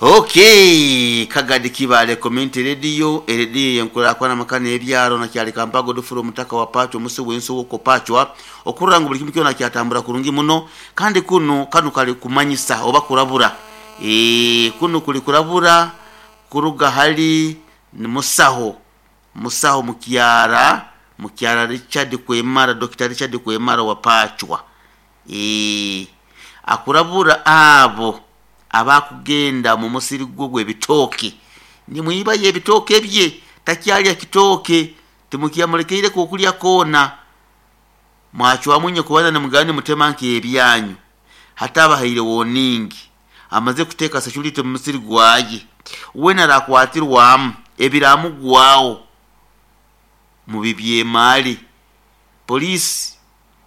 Okay, Kagadi Kibaale Community Radio, erediyo eyenkurakurana amaka n'ebyaro nakyali Kampala Godfrey Omutaka wa Pachwa omusi w'ensuuko Pachwa okurora ngu buli kimu kyona kyatambura kurungi muno kandi kunu kanu kali kumanyisa oba kurabura eeh kunu kuli kurabura kuruga hali musaho musaho mukyara mukyara Richard Kwemara Dokita Richard Kwemara wa Pachwa eeh akurabura abo abakugenda mu musiri gwe ogw'ebitooke nimwibayo ebitooke bye, takyalya kitooke, timukyamulekeireku okulya koona. Mwacwamu inye kubanza nimugenda nimutema nk'ebyanyu. Hati abahaire woningi, amaze kuteeka security mu musiri gwaye, weena arakwatirwamu ebiramugwaho mubibyemaale. Poliisi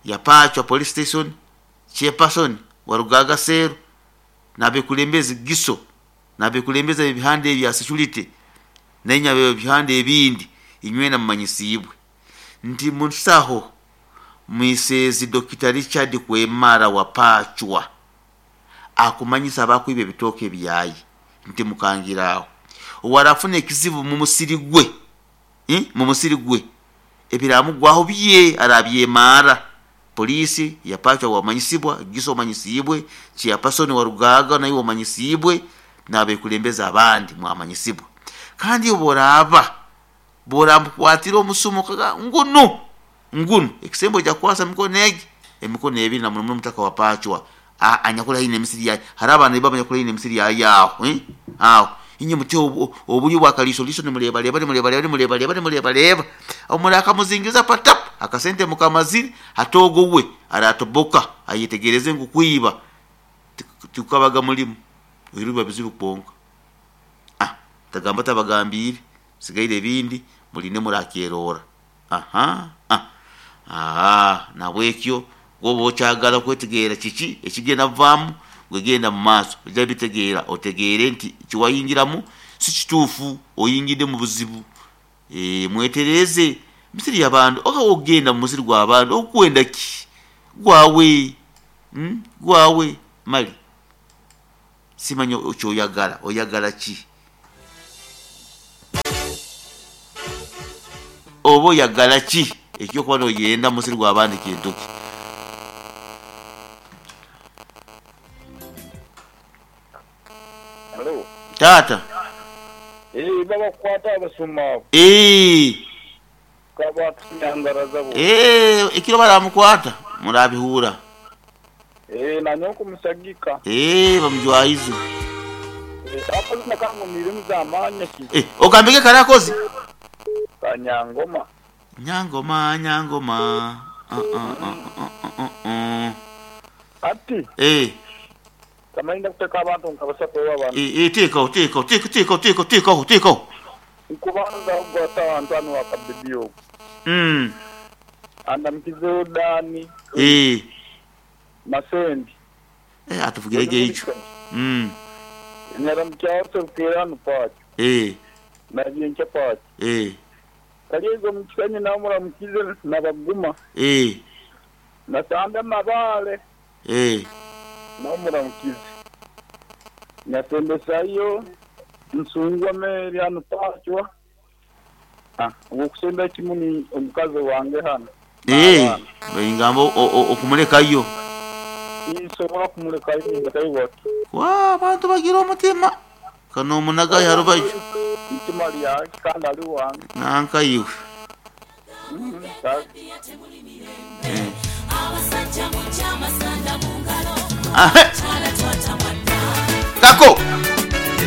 ya Pachwa Police Station, Chairperson wa Rugaaga Cell n'abekulembezi Giso n'abekulembezi ab'ebihanda ebya security nainye ab'ebihanda ebindi inywena mumanyisiibwe nti musaho Mwiseezi Dokita Richard Kwemara wa Pachwa akumanyisa abakwiba ebitooke byaye nti mukangire aho owarafuna ekizibu mu musiri gwe mu musiri gwe ebiramugwaho bye arabyemaara. Poliisi ya Pachwa wamanyisibwa, Giso omanyisiibwe, Chairperson wa Rugaaga naiwe omanyisiibwe n'abekulembeze abandi mwamanyisibwa. Kandi obworaaba bworamukwatira omusumo okaga ngunu ngunu ekisembo oija kukwasa emikono egi emikono ebiri na muno muno omutaka wa Pachwa anyakuli haihi n'emisiri yaye. Hariho abanaiba abanyakuli haihi n'emisiri yaye aho aho. Inye mutyo oburyo bwa kaliisoliiso nimureebareeba nimureebareeba nimureebareeba nimureebareeba murakamuzingiza patap akasente mukamazire hati ogwo we aratoboka ayetegereze ngu kwiba tikukabaga murimo oihireho biba bizibu kwonka. Ah tagamba tabagambiire sigaire ebindi murinde murakyerora. Aha ah aah nahabwekyo woba okyagala kwetegeera kiki ekigenda kuvaamu, gwe genda mu maaso oija bitegeera otegeere nti kiwayingiramu si kituufu oyingidde mu buzibu. Eeh mwetereeze emisiri y'abantu oba ogenda mu musiri gw'abantu okwenda ki? Gwawe gwawe male simanya kyoyagala, oyagala ki? Oba oyagala ki eky'okuba n'oyenda mu musiri gw'abandi kintu ki? Halo. Taata. Eeh babakwata abasuma abo. Eeh. Kabatunyangaraza bo. Eeh ekiro baramukwata murabihuura. Eeh nanyowe nkumusagika. Eeh bamujwahize. Eeh akazina kangu Nirimuzaamanya ki? Eeh ogambege kare akozi. Ka Nyangoma. Nyangoma Nyangoma uh uh uh uh uh uh. Ati. Eeh. Tamanyi ndakuteka abantu nka basatu oba bana. Eeh teekaho teekaho teekaho teekaho teekaho teekaho teekaho. Nkubanza ogwata Antwani wa Kabidi ogwo. Umm. Andamukizeho Dani. Eeh. Masendi. Eh atuvugire gye eico. Umm. Nyaramukyaho Serukeera hanu Pacho. Eeh. Nabyenkya Pacho. Eeh. Karyeiza omu Kisenyi nawe muramukize na Baguma. Eeh. Nasande Mabaale. Eeh. Nawe muramukize. Nyasembesayo Nsungwa Mary hanu Pacho. Ow'okusembera kimu ni omukazi wange hano Eeh, n'abaana. baingamba okumulekayo. Tinsobola kumulekayo nindekayo bati. Waa, abantu bagira omutima. Ka n'omunagayo ha rubaju. Itima lyaki kandi ali wange. Nanka iwe. Kale. Ahe! Kako!